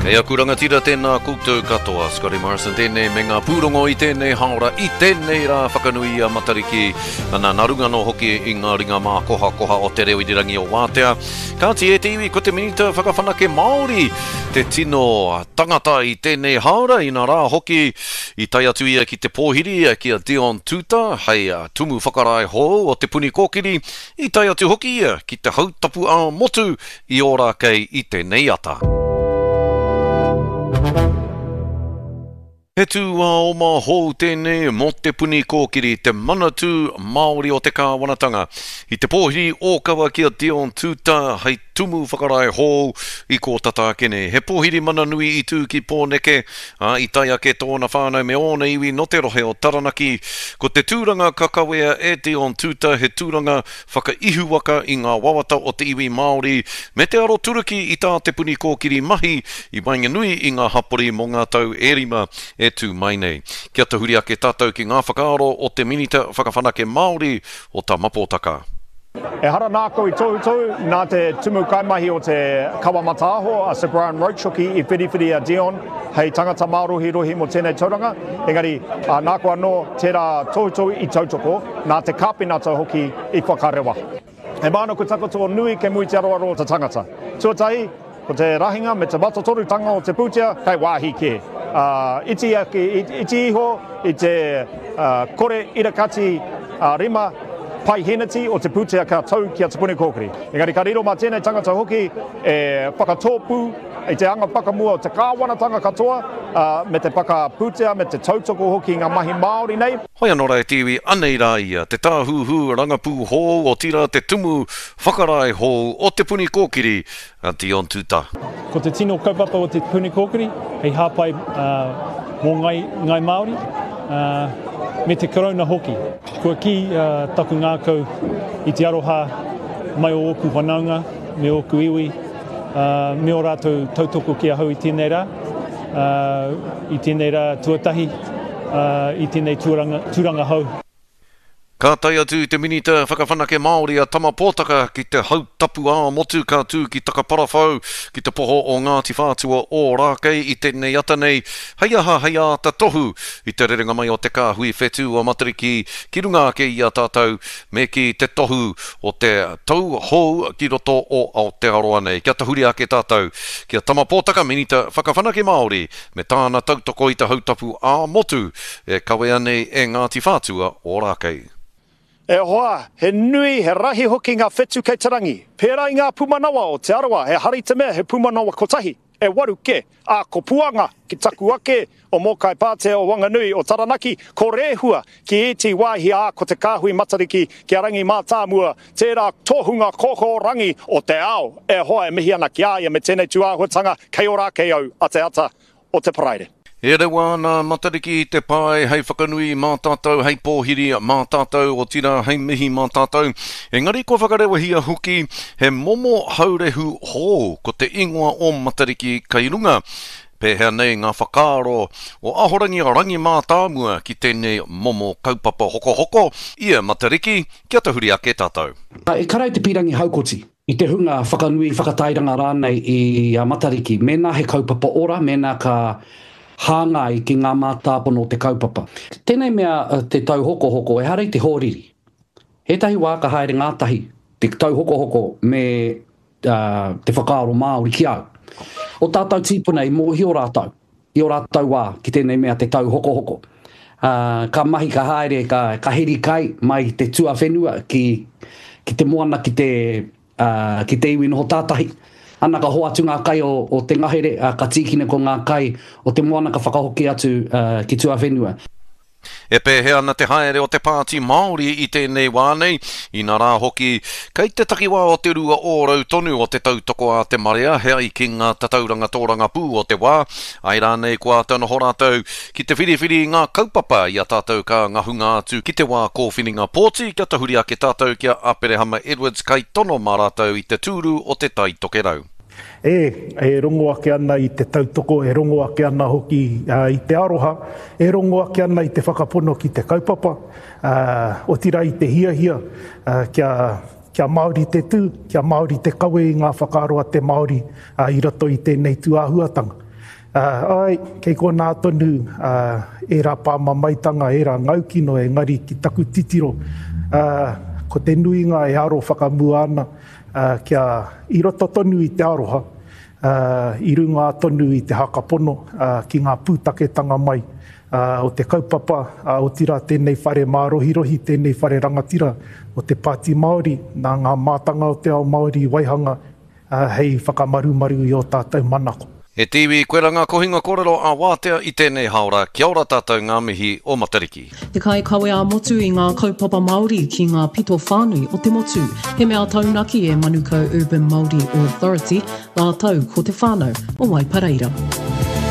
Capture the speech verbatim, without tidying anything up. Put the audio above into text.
E aku rangatira tēnā koutou katoa, Scotty Morrison tēnei me ngā pūrongo i tēnei haora, i tēnei rā whakanui i a Matariki, ana nā runga anō hoki i ngā ringa mākohakoha o te reo irirangi o Wātea. Kāti e te iwi, ko te Minita Whakawhanake Māori te tino tangata i tēnei haora, ina rā hoki i tae atu ia ki te pōhiri ki a Dion Tuuta hei tumu whakarae hou o Te Puni Kōkiri, i tae atu hoki ia ki te hautapu ā-motu i Ōrākei i tēnei ata. He tūāoma hou tēnei mō Te Puni Kōkiri, te Manatū Māori o te Kāwanatanga. I te pōhiri ōkawa ki a Dion Tuuta hei tumu whakarae hou i kō tata ake nei. He pōhiri mana nui i tū ki Pōneke, ā, i tae ake tōna whānau me ōna iwi nō te rohe o Taranaki. Ko te tūranga ka kawea e Dion Tuuta he tūranga whakaihuwaka i ngā wawata o te iwi Māori me te aroturuki i tā Te Puni Kōkiri mahi i waenganui i ngā hapori mō ngā tau e rima e tū mai nei. Kia tahuri ake tātou ki ngā whakaaro o te Minita Whakawhanake Māori o Tama Potaka. Ehara nāku i tohutohu, nā te tumu kaimahi o te Kawa Mataaho, a Sir Brian Roche hoki i whiriwhiri a Dion hei tangata mārohirohi mō tēnei tauranga, engari nāku anō tērā tohutohu i tautoko, nā te kāpinata hoki i whakarewa. He mānuku takoto nui kei mua i te aroaro o te tangata. Tuatahi, ko te rahinga me te matotorutanga o te pūtea kei wāhi kē. Ā, iti ake, iti iho i te kore irakati rima paiheneti o te pūtea ka tau ki a Te Puni Kōkiri. Engari ka riro mā tēnei tangata hoki e whakatōpū i te anga whakamua o te kāwanatanga katoa, ā, me te whakapūtea me te tautoko hoki i ngā mahi Māori nei. Hoi anō rā e te iwi, anei rā ia, te tāhuhu rangapū hou, otirā te tumu whakarae hou o Te Puni Kōkiri, a Dion Tuuta. Ko te tino kaupapa o Te Puni Kōkiri hei hāpai mō Ngāi Māori me te Karauna hoki. Kua kī taku ngākau i te aroha mai o ōku whanaunga me ōku iwi me ō rātou tautoko ki ahau i tēnei rā, i tēnei rā tuatahi, i tēnei tūranga hou. Ka tae atu te Minita Whakawhanake Māori a Tama Potaka ki te hautapu ā-motu ka tū ki Takaparawhau ki te poho o Ngāti Whātua Ōrākei i tēnei ata nei, hei aha hei āta tohu i te rerenga mai o te kāhui whetū o Matariki ki runga ake i a tātou me kī te tohu o te tau hou ki roto o Aotearoa nei. Kia tahuri ake tātou ki a Tama Potaka, Minita Whakawhanake Māori, me tāna tautoko i te hautapu ā-motu e kawea nei e Ngāti Whātua Ōrākei. E hoa, he nui, he rahi hoki ngā whetu kei te rangi. Pērā i ngā pūmanawa o Te Arawa, he hari te mea he pūmanawa kotahi, e waru kē, ā, ko Puanga ki taku ake, o Mōkai Pātea, o Wanganui, o Taranaki, ko Rehua ki ētehi wāhi, ā, ko te kāhui Matariki ki a Rangi Mātāmua, tērā tohunga kōkōrangi o te ao. E hoa, e mihi ana ki a ia me tēnei tūāhuatanga kei ora ake au a te ata o te Paraire. E rewa ana a Matariki i te pae hei whakanui mā tātou, hei pōhiri mā tātou, otirā hei mihi mā tātou. Engari kua whakarewahia hoki he momo haurehu hou, ko te ingoa o Matariki kei runga. Pēhea nei ngā whakaaro o Ahorangi Rangi Mātāmua ki tēnei momo kaupapa hokohoko i a Matariki, kia tahuri ake tātou. Ekara i te pīrangi haukoti, i te hunga whakanui, whakatairanga rānei i a Matariki, mēnā he kaupapa ora, mēnā ka hāngai ki ngā mātāpono o te kaupapa. Tēnei mea te tauhokohoko, ehara i te hōriri. Ētahi wā ka haere ngātahi te tauhokohoko me te whakaaro Māori ki au. O tātou tīpuna i mōhio rātou, i ō rātou wā ki tēnei mea te tauhokohoko. Ka mahi, ka haere, ka, ka heri kai mai te tuawhenua ki, ki te moana, ki te, ki te iwi noho tātahi. Ana ka hoatu ngā kai o, o te ngahere, ka tīkina ko ngā kai o te moana ka whakahoki atu ki tuawhenua. E pēhea ana te haere o te Pāti Māori i tēnei wā nei, inā rā hoki, kei te takiwā o te rua ōrau tonu o te tautoko a te marea he ai ki ngā tatauranga tōrangapū o te wā, āe rānei kua āta noho rātou ki te whiriwhiri i ngā kaupapa i a tātou ka ngahunga atu ki te wā kōwhiringa pōti kia tahuri ake tātou ki a Aperehama Edwards kaitono mā rātou i te tūru o Te Tai Tokerau. E, e rongo ake ana i te tautoko, e rongo ake ana hoki i te aroha, e rongo ake ana i te whakapono ki te kaupapa, otirā i te hiahia kia, kia Māori te tū, kia Māori te kawe i ngā whakaaro a te Māori i roto i tēnei tūāhuatanga. Āe, kei konā tonu ērā pāmamaetanga, ērā ngaukino, engari ki taku titiro, ko te nuinga e aro whakamua ana kia i roto tonu i te aroha, i runga tonu i te hakapono ki ngā pūtaketanga mai o te kaupapa, otirā tēnei whare mārohirohi, tēnei whare rangatira o te Pāti Māori, nā ngā mātanga o te ao Māori i waihanga hei whakamarumaru i ō tātou manako. E te iwi, koira ngā kohinga kōrero a Wātea i tēnei haora, kia ora tātou ngā mihi o Matariki. Te kaikawe ā-motu i ngā kaupapa Māori ki ngā pito whānui o te motu. He mea taunaki e Manukau Urban Māori Authority rātou ko te whānau o Waipareira.